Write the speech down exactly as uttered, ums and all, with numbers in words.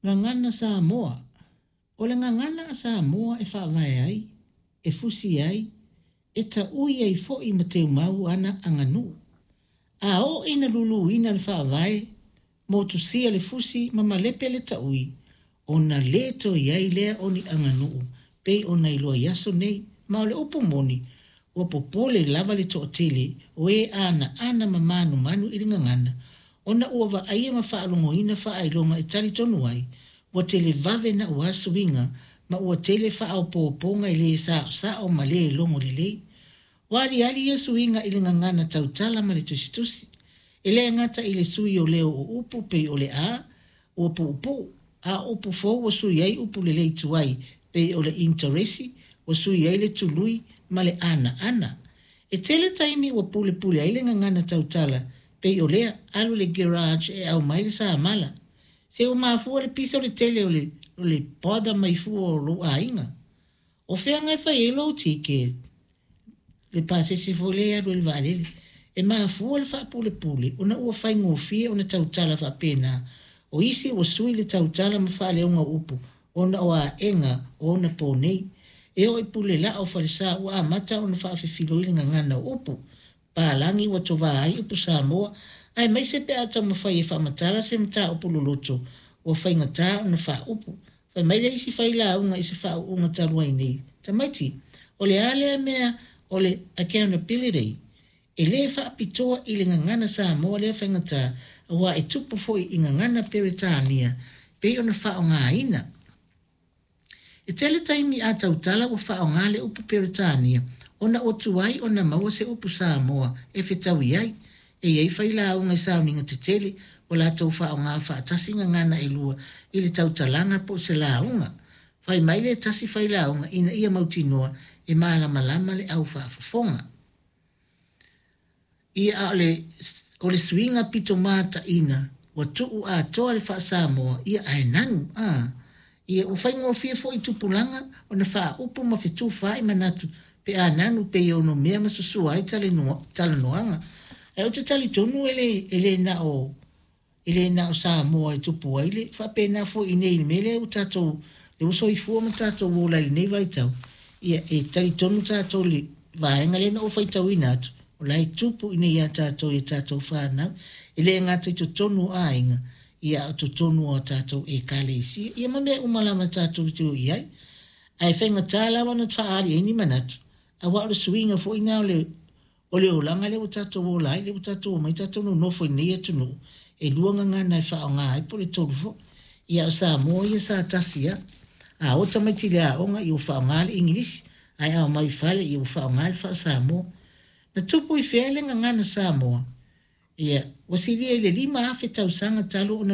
Gagana Samoa. O le gagana a Samoa e faavae ai, e fusi ai, e taui ai foi ma teumau ana aganuu. A oo ina luluina le faavae, motusia le fusi ma malepe le taui, ona le toe i ai lea o ni aganuu pei ona iloa i aso nei. Ma o le upu moni, ua popole lava le toatele o e anaana ma manumanu i le gagana, ona ua vaaia ma faalogoina faailoga e talitonu ai, ua televave naua suiga ma ua tele faaopoopoga e le saosao ma le logo lelei. Ua aliali ia suiga i le gagana tautala ma le tusitusi. E le gata i le sui o leo o upu pei o le a, ua puupuu, a o upu fou ua sui ai upu lelei tuai pei o le initeresi, ua sui ai le tului ma le anaana. E tele taimi ua pulepule ai le gagana tautala pei o lea, alu i le garage e aumai le samala. Se ua mafua le pisa o le tele o le, o le bother mai fua o lou aiga. O fea e fai ai lou ticket? Le pasese foi lea e alu ai le vaalele. E mafua le faapulepule ona ua faigofie ona tautala faapena. O isi ua sui le tautala ma faaleoga o upu ona o aega o ona po nei. E oo i pule laa o falesa ua amata ona faafefiloi le gagana o upu. Palagi ua tovā ai upu Samoa, aemaise pe a taumafai e faamatala se mataupu loloto ua faigata ona faaupu. Fai mai le isi failauga i se faauuga talu ai nei, tamaiti, o le a lea mea o le accountability? E le faapitoa i le gagana Samoa lea faigata, aua e tupu foi i gagana Peretania pei ona faaaogaina. E tele taimi a tautala ua faaaoga le upu Peretania ona ua tuai ona maua se upu Samoa e fetaui ai. E i ai failauga i sauniga tetele ua latou faaaoga faatasi gagana e lua i le tautalaga po o se lauga. Fai mai le tasi failauga ina ia mautinoa e malamalama le au faafofoga. Ia a o le, o le suiga pito mataina ua tuu atoa le faa-Samoa, ia ae nanu. A, ia ua faigofie foi i tupulaga ona faaupu ma fetufaai manatu pe a nanu pei e onomea ma susua ai talanoaga. Ae ou te talitonu e le, e le na o e le na o Samoa e tupu ai le faapena foi i nei i le mea lea ua tatou le ua soifua ma tatou ola i lenei vaitau. Ia e talitonu tatou le vaega lea na ou faitauina atu, o la e tupu i nei ia tatou i tatou fanau. E le gata i totonu o aiga, ia a o totonu o tatou ekalesia. Ia ma mea uma lava tatou te o i ai. Ae faigata lava ona faaali ai ni manatu, aua o le suiga foi na o le o le olaga lea ua tatou ola ai, lea ua tatou omai tatou nonofo i lenei atunuu, e lua gagana e faaaoga ai po o le tolu foi. Ia o Samoa ia sa tasi lava. A o tamaiti i le aoga ia ua faaaoga le Igilisi, ae a omai i fale ia ua faaaoga le faa-Samoa. Na tupu i fea le gagana Samoa? Ia, ua silia i le lima afe tausaga talu ona